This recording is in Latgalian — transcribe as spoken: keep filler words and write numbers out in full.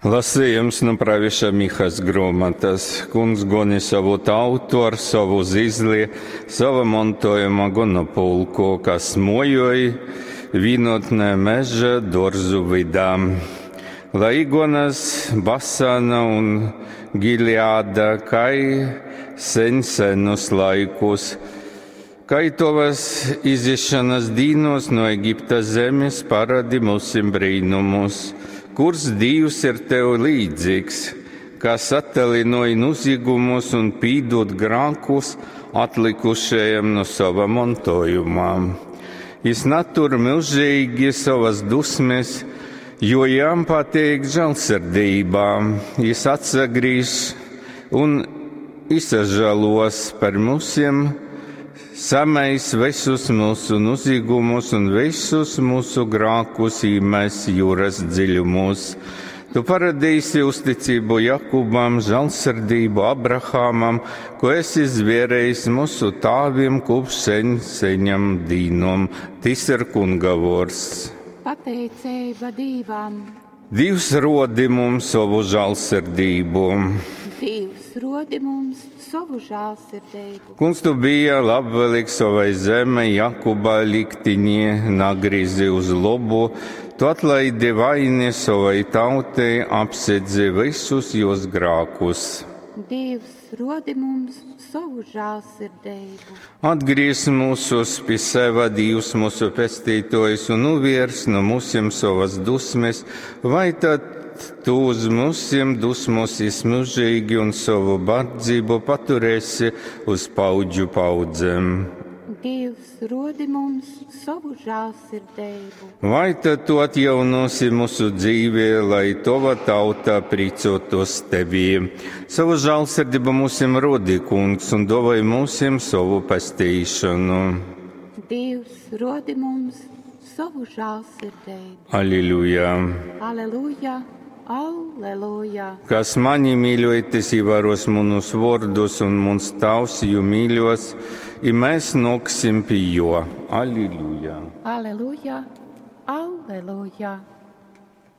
Lasījums nu praviša Mihas grōmatas. Kungs goni savu tautu ar savu zizli, sava montojuma gonopulku, kas mojoj vīnotnē meža dōrzu vydā. Lai gonas Basana un Gileada, kai sen senus laikus, kai tovas izišanas dīnos no Egipta zemes parādi mūsim brīnumus. Kurs Dīvs ir tev līdzīgs, kas attalinoja nozīgumus un pīdod grākus atlikušajiem no sava mantojuma. Jis natur mūžīgi savas dusmes, jo jām patīk žēlsirdībā. Jis atsagrīž un izsažalos par mūsiem, samais visus mūsu nozīgumus un visus mūsu grākus īmēs jūras dziļumos. Tu paradīsi uzticību Jakubam, žēlsirdību Abrahamam, ko esi zvērējis mūsu tāviem kopš sen seņam dīnom. Tis ir Kunga vōrds. Pateiceiba Dīvam. Dīvs rodi mums savu žēlsirdību. Dīvs rodi mums savu žēlsirdību. Kungs, tu bija labvēlīgs savai zemei, Jakuba liktiņi nagrizi uz labu, tu atlaidi vaini savai tautai, apsedzi visus jos grākus. Dīvs rodi mums savu žēlsirdību. Atgriez mūsus pie seva, Dīvs mūsu pestītājs, un nuviers no mūsiem savas dusmes, vai tad tu uz mūsiem dusmosies mūžīgi un savu bardzību paturēsi uz paudžu paudzēm. Dievs rodi mums savu žēlsirdību. Vai tad tu atjaunosi mūsu dzīvi, lai tava tauta pricotos tevī? Savu žēlsirdību mūsim rodi, kungs, un dovai mūsim savu pestīšanu. Dievs rodi mums savu žēlsirdību. Aleluja! Aleluja! Alleluja! Kas mani mīļoja, tas ievēros manus vārdus, un mans tavs jū mīļos, i mēs nāksim pie jo. Aleluja! Aleluja! Alleluja!